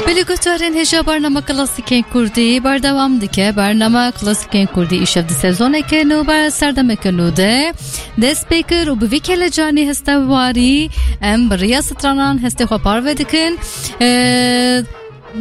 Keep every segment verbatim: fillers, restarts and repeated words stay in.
Belê guhdarên hêja, bernama Klasîkên Kurdî berdewam dike. Bernama Klasîkên Kurdî îşev di sezoneke nû, ber serdemeke nû de dest pê kir û bi vî kelecanî heste warî em bi riya stranan hestê xwe parve dikin. Ee,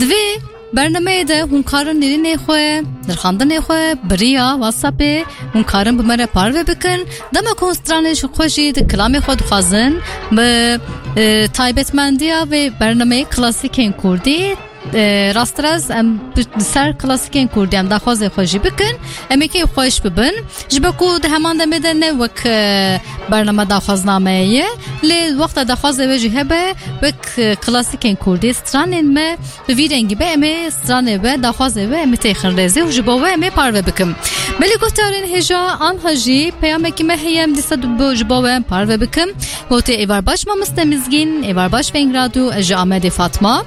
di vê bernameyê de hûn karin nêrînê xwe, nirxandinê xwe, bi riya WhatsAppê hûn karin bi me re parve bikin. Dema ku hûn stranên ji xwe jî di kilamê xwe dixwazin, bi, e, taybetmendiya vê bernameyê Klasîkên Kurdî, e, rasterast em bi, bi ser Klasîkên Kurdî em daxwazê xwe jî bikin. Em ê kêfxweş bibin. Ji bo ku di heman demê de ne wek, e, bernama daxwazname ye, lê wexta daxwazê we jî hebe, wek, e, Klasîkên Kurdî stranên me bi vî rengî be, em ê stranê we, daxwazê we, em ê têxin rêzê û ji bo we em ê parve bikim. Belê guhdarên hêja, anha jî peyamekî me heye, em dîsa bo, ji bo we em parve bikim. Gotê êvar baş mamoste Mizgîn, êvar baş Veng Radyo, ez ji Amedê Fatma.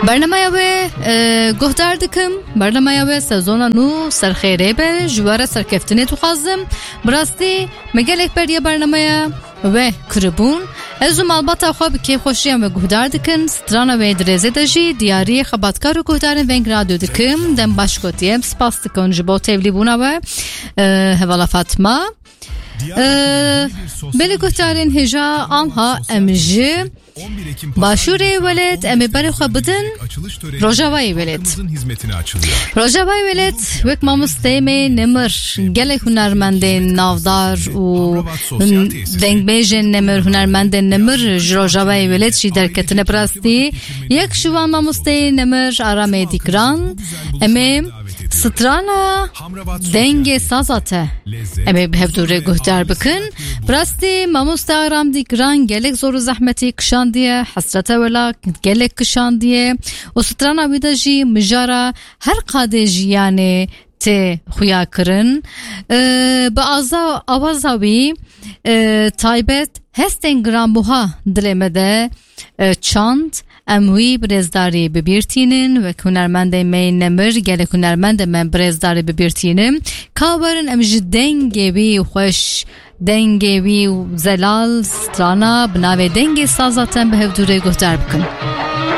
Bernameya we, e, guhdar dikim. Bernameya we sezona nû ser xêrê be, ji we re serkeftinê dixwazim. Bi rastî me gelek beriya bernameya we kiribûn. Ez û malbata xwe bi kêfxweşiya we guhdar dikin. Strana we di rêzê de jî diyariyê xebatkar û guhdarên Veng Radyo dikim. Dem baş gotiye. Em spas dikin ji bo tevlîbûna we. E, hevala Fatma. E, belê guhdarên hêja, anha em ji Başûrê welêt, em ê berê xwe bidin Rojavayê welêt. Rojavayê welêt, wek mamosteyê me Nemir, gelek hunermendên navdar û dengbêjên Nemir, hunermendên Nemir ji Rojavayê welêt jî derketine. Bi rastî yek ji wan mamosteyê Nemir, Aramê Dîgran. Em ê strana Dengê Saza te em ê bi hevdû re guhdar bikin. Bi rastî mamoste Aram Dîgran gelek zor û zehmetî kişandiye, hesreta wela gelek kişandiye û strana wî de jî mijara her qadê jiyanê tê xuya kirin. Ee, bi aza-, awaza wî, e, taybet hestên giranbuha dilê me de, e, çand. Em wî bi rêzdarî bi bîr tînin, wek hunermendên me yên Nemir, gelek hunermendên me bi rêzdarî bi bîr tînin. Ka werin em ji dengê wî xweş, dengê wî zelal, strana bi navê Dengê Saza te em bi hevdû re guhdar bikin.